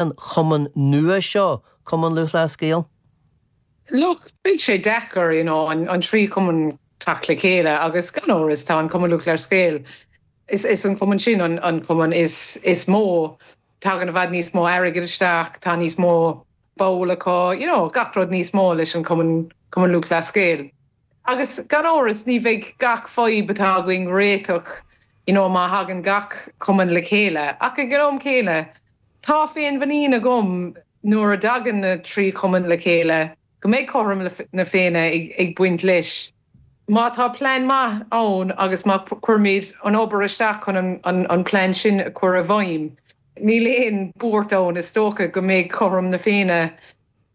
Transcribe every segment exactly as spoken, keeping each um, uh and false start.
an chumann nua seo Cumann Lúthchleas Gael? Look, beidh sé deacair you know, an, an trí chumann teacht le chéile agus gan amhras tá an Cumann Lúthchleas Gael. Is, is an cumann sin an, an cumann is, is mó tagann i bhfad níos mó airgead isteach tá níos mó ball acu you know, gach rud níos mó leis an cumann Cumann Lúthchleas Gael. Agus gan amhras ní bheidh gach fadhb atá againn réiteach you know, má thagann gach cumann le chéile ach ag an am céanna tá féinmhuinín agam nuair a thagann na trí chumann le chéile go mbeidh cothrom na Féinne ag, ag baint leis. Má tá plean maith ann agus má chuirimid an obair isteach chun an, an, an plean sin a chur i bhfeidhm. Níl aon bhuairt ann is dócha go mbeidh cothrom na Féinne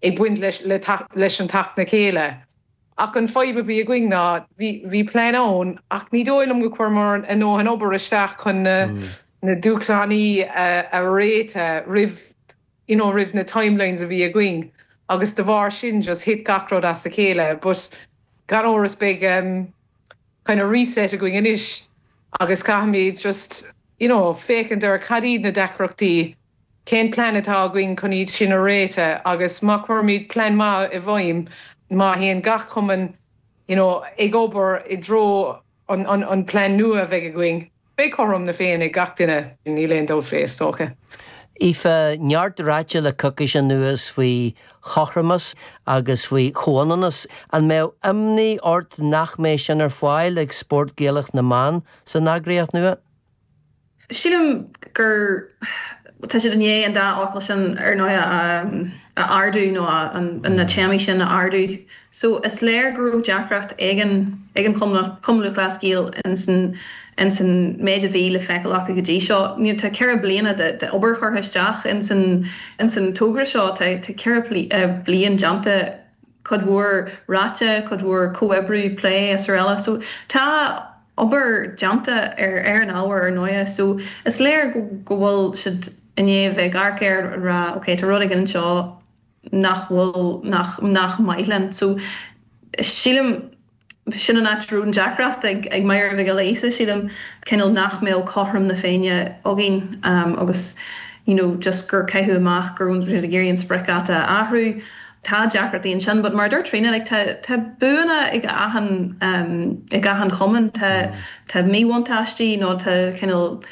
ag baint leis, le leis an teacht le chéile. Ach an fadhb a bhí againn ná bhí plean ann ach ní dóigh liom gur chuireamar an an obair isteach chun na, mm. na dúshláin a, a réiteach roimh you know, roimh na timelines a bhí againn. agus de bharr sin just thit gach rud as a chéile, but gan amhras beidh um, kind of reset againn anois agus caithfimid just you know, féachaint ar cad iad na deacrachtaí cén plean atá againn chun iad sin a réiteach agus má chuirimid plean maith i bhfeidhm má théann gach cumann you know, ag obair i dtreo an, an, an plean nua a bheidh againn. Beidh cothrom na Féinne ag gach duine níl aon dabht faoi is dócha. Aoife neart ráite le coicís anuas faoi chothromas agus faoi chomhionannas an mbeadh imní ort nach mbeidh sin ar fáil ag spórt Gaelach na mban san eagraíocht nua? Sílim gur tá siad i ndiaidh an dá fhocal sin ar ndóigh a ardú nó na téamaí sin a ardú. So is léir go raibh deacracht ag an ag an Cumann Lúthchleas Gael in san in san méid a bhí le feiceáil acu go dtí seo. Ní tá ceithre bliana de, de obair curtha isteach in san in san togra seo tá ceithre bliain déanta cuid mhór ráite, cuid mhór comhoibriú plé is araile. So tá obair déanta ar ar an ábhar ar ndóigh, so is léir go go bhfuil siad i ndiaidh bheith ag amharc ar rá okay, tá rud éigin anseo nach bhfuil nach nach maith linn. So sílim sin an áit an deacracht ag ag Máire Mhic Giolla Íosa sílim cineál nach mbeadh cothrom na Féinne againn um, agus you know, just gur caitheadh amach gur siad ag iarraidh an spriocdháta a athrú. Tá deacrachtaí ansin, but mar dúirt Tríona like, tá tá buanna ag achan um, ag achan chumann tá tá míbhuntáistí nó tá cineál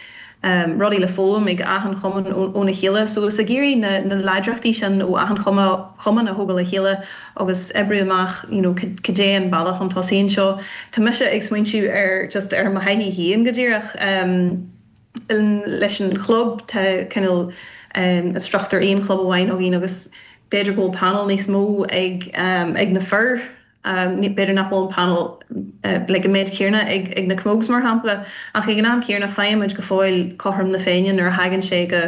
um, rudaí le foghlaim ag achan chumann óna chéile, so is ag iarraidh na, na láidreachtaí sin ó achan chumann a thógáil le chéile agus oibriú amach you know, cad é an bealach chun tosaigh anseo. Tá mise ag smaointiú ar just ar mo thaithí féin go díreach um, leis an chlub tá cineál um, struchtúr aon chlub amháin againn agus b'fhéidir go bhfuil panel níos mó ag um, ag na fir um, b'fhéidir nach bhfuil panel uh, le go méid céanna ag, ag na camogs mar shampla ach ag an am céanna faighimid go fóill cothrom na Féinne nuair a thagann sé go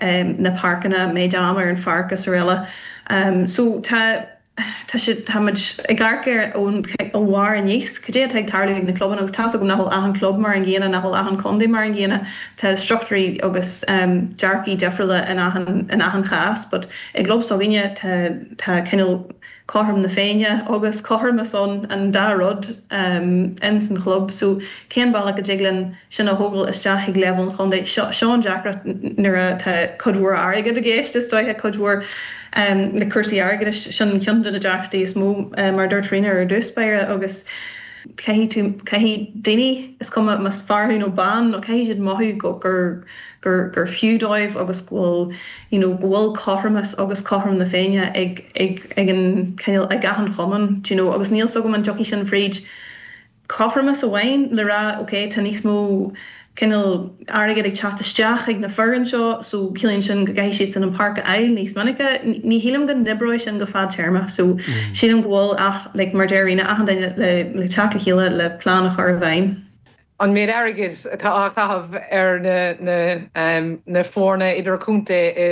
um, na páirceanna méid am ar an pháirc is araile. Um, so tá Tá sé táimid ag amharc air ón ó bharr aníos, cad é atá ag tarlú ag na clubanna agus tá go nach bhfuil achan club mar an gcéanna nach bhfuil achan chontae mar an gcéanna tá struchtúirí agus um, dearcthaí difriúla in achan in achan chás, but i gclub s'againne tá tá cineál cothrom na Féinne agus cothromas an an dá rud um, in san chlub, so cén bealach a dtig linn sin a thógáil isteach ag leibhéal an chontae seo an deacracht nuair atá cuid mhór airgead i gceist is dóiche cuid mhór um, le cúrsaí airgeadais sin ceann de na deacrachtaí is mó um, mar dúirt Tríona ar dtús báire agus caithfidh caithfidh daoine is cuma más fear nó bean nó caithfidh siad mothú go gur gur gur fiú dóibh agus go bhfuil you know, go bhfuil cothromas agus cothrom na Féinne ag ag ag an cineál ag achan chumann you know, agus níl agam an dtiocfaidh sin fríd cothromas amháin le rá okay, tá níos mó cineál airgead ag teacht isteach ag na foireann seo so ciallaíonn sin go gcaithfidh siad san an páirc a fháil níos minice ní shílim go n-oibreoidh sin go fadtéarma so mm. sílim go bhfuil ach like, mar déiríine achan duine le le teacht le chéile le plean a chur i bhfeidhm. An méid airgid atá á chaitheamh ar na na um, na foirne idirchontae i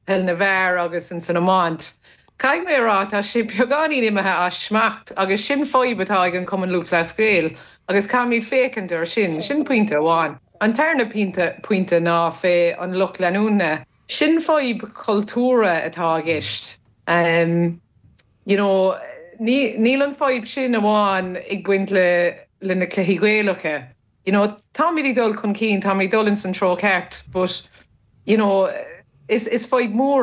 peil na bhfear agus in san iomáint. Caithfidh mé rá tá sé beagáinín imithe as smacht agus sin fadhb atá ag an Cumann Lúthchleas Gael agus caithfimid féachaint ar sin sin pointe amháin. An tarna pointe pointe ná fé an lucht leanúna. Sin fadhb cultúrtha atá i gceist. Um, you know, níl an fadhb sin amháin ag baint le le na cluichí Gaelacha. You know, táimid ag dul chun cinn táimid dul in san treo ceart, but you know, Is is fadhb mór